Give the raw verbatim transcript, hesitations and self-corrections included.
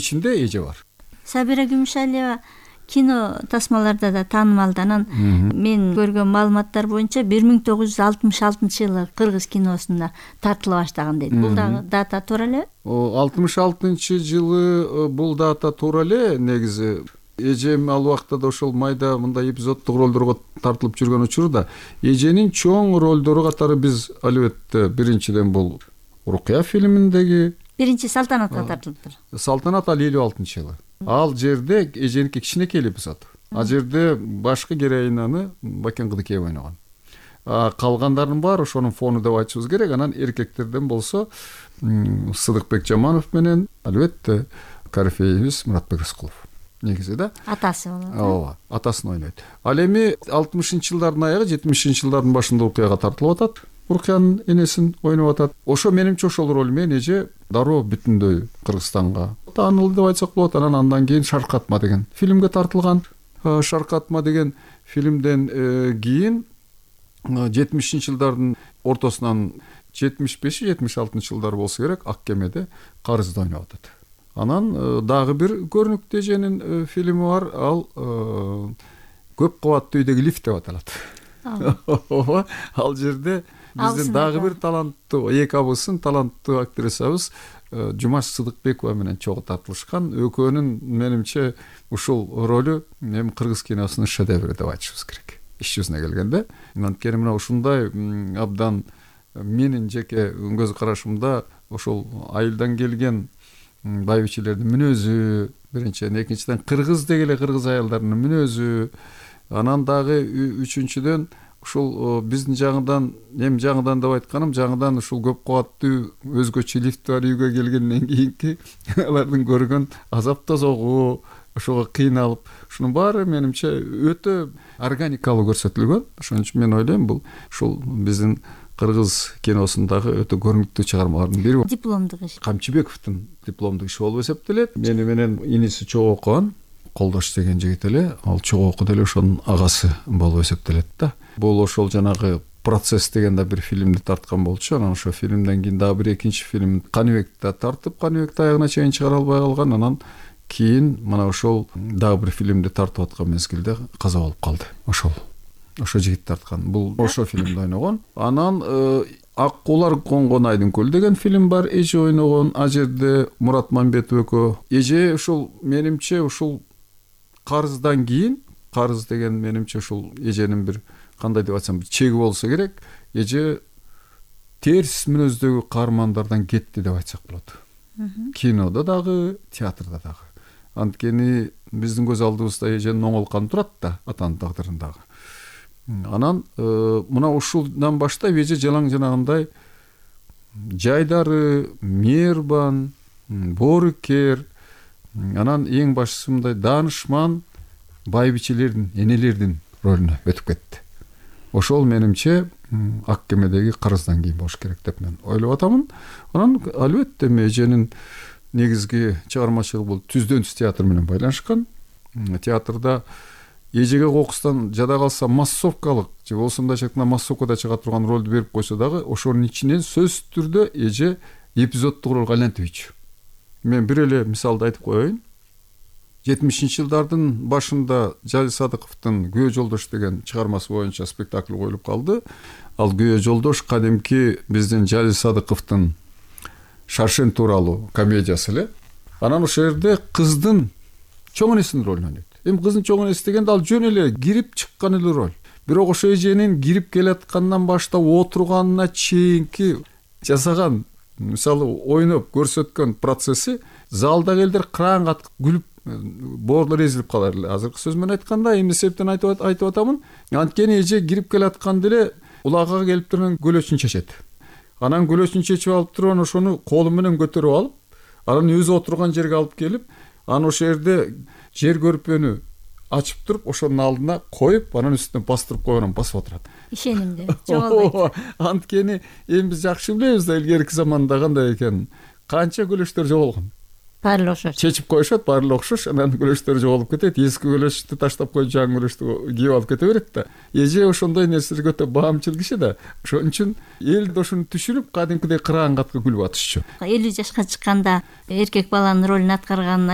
ичинде эже бар. Сабира Күмүшалиева кино тасмаларда да таанымал. Анан мен көргөн маалыматтар боюнча бир миң тогуз жүз алтымыш алтынчы жылы кыргыз киносуна тартыла баштаган дейт. Бул дагы дата туура эле? алтымыш алтынчы жылы бул дата туура эле. Негизи эжем ал убакта да ошол майда мындай эпизоддук ролдорго тартылып жүргөн учурда эженин чоң ролдору катары биз албетте биринчиден бул Урукия фильминдеги биринчи Салтанатка тартылыптыр. Салтанат ал элүү алтынчы жылы. Ал жерде эженики кичинекей эпизод. Ал жерде башкы героинаны Бакен Кыдыкеев ойногон. Калгандардын баары ошонун фону деп айтышыбыз керек. Анан эркектерден болсо Сыдыкбек Жаманов менен албетте корифейибиз Муратбек Рыскулов. Негизи да атасы болот. Ооба, атасын ойнойт. Ал эми алтымышынчы жылдардын аягы, жетимишинчи жылдардын башында Урукияга тартылып атат. Урукиянын энесин ойноп атат. Ошо менимче ошол роль менен эже дароо бүтүндөй Кыргызстанга таанылды деп айтсак болот. Анан андан кийин Шаркатма деген фильмге тартылган. Шаркатма деген фильмден кийин жетимишинчи жылдардын ортосунан жетимиш беш жетимиш алтынчы жылдар болсо керек Ак кемеде Карызды ойноп атат. Анан дагы бир көрүнүктүү эженин фильми бар. Ал Көп кабаттуу үйдөгү лифт деп аталат. Ооба, ал жерде биздин дагы бир таланттуу эки абысын таланттуу актрисабыз Жумаш Сыдыкбекова менен чогуу тартылышкан. Экөөнүн менимче ушул ролу эми кыргыз киносунун шедеври деп айтышыбыз керек. Иш жүзүнө келгенде, анткени мына ушундай абдан менин жеке көз карашымда ошол айылдан келген байбичелердин мүнөзү, биринчиден, экинчиден кыргыз дегеле кыргыз аялдарынын мүнөзү, анан дагы үчүнчүдөн ушул биздин жаңыдан, эми жаңыдан деп айтканым, жаңыдан ушул көп кабаттуу өзгөчө лифт бар үйгө келгенден кийинки алардын көргөн азап тозогу, ошого кыйналып, ушунун баары менимче өтө органикалуу көрсөтүлгөн. Ошон үчүн мен ойлойм, бул ушул биздин кыргыз киносундагы өтө көрүнүктүү чыгармалардын бири. Дипломдук иш. Камчыбековдун дипломдук иши болуп эсептелет. Мени менен иниси чогуу окуган Колдош деген жигит эле, ал чогуу окуду эле, ошонун агасы болуп эсептелет да. Бул ошол жанагы Процесс деген да бир фильмди тарткан болчу. Анан ошо фильмден кийин дагы бир экинчи фильм Каныбекти тартып, Каныбекти аягына чейин чыгара албай калган. Анан кийин мына ошол дагы бир фильмди тартып аткан мезгилде каза болуп калды. Ошол ошо жигит тарткан. Бул ошо фильмде ойногон. Анан Ак куулар конгон айдын көл деген фильм бар, эже ойногон. А жерде Мурат Мамбетов экөө. Эже ушул менимче ушул Карыздан кийин, Карыз деген менимче ушул эженин бир кандай деп айтсам, чеги болсо керек. Эже терс мүнөздөгү каармандардан кетти деп айтсак болот. Кинодо дагы, театрда дагы. Анткени биздин көз алдыбызда эженин оңол каны турат да, атанын тагдырындагы. Анан мына ушулдан баштап эже жалаң жанагындай жайдары, мээрбан, боорукер, анан эң башкысы мындай даанышман байбичелердин, энелердин ролуна өтүп кетти. Ошол менимче Ак кемедеги Карыздан кийин болуш керек деп мен ойлоп атамын. Анан албетте эженин негизги чыгармачылыгы бул түздөн түз театр менен байланышкан. Театрда эжеге кокустан жада калса массовкалык же болбосо мындай шактагында массовкада чыга турган ролду берип койсо дагы ошонун ичинен сөзсүз түрдө эже эпизоддук ролго айлантыбайчу. Мен бир эле мисалды айтып коеюн. жетимишинчи жылдардын башында Жалил Садыковдун Күйөө жолдош деген чыгармасы боюнча спектакль коюлуп калды. Ал Күйөө жолдош кадимки биздин Жалил Садыковдун Шаршен тууралуу комедиясы эле. Анан ошол жерде кыздын чоң энесинин ролун ойнойт. Эми кыздын чоң энеси дегенде ал жөн эле кирип чыккан эле роль. Бирок ошо эженин кирип келаткандан баштап отурганына чейинки жасаган, мисалы ойноп көрсөткөн процесси залдагы элдер кыраан катып күлүп, боорлор эзилип калар эле. Азыркы сөз менен айтканда, эмне себептен айтып айтып атамын? Анткени эже кирип келатканда эле улагага келип турган көлөчүн чечет. Анан көлөчүн чечип алып турган ошону колу менен көтөрүп алып, анан өзү отурган жерге алып келип, анан ошол жерде жер көрпөнү ачып туруп, ошонун алдына коюп, анан үстүнө бастырып койгон, басып отурат. Ишенимде жоголбойт. Анткени эми биз жакшы билебиз да, илгерки заманда кандай экенин. Канча көлөчтөр жоголгон. Баары эле окшош. Чечип коюшат, баары эле окшош, анан көлөчтөр жоголуп кетет. Эски көлөчтү таштап коюп, жаңы көлөчтү кийип алып кете берет да. Эже ошондой нерселерге өтө баамчыл киши да. Ошон үчүн эл ошону түшүнүп, кадимкидей кыраан катка күлүп атышчу. элүү жашка чыкканда эркек баланын ролун аткарганын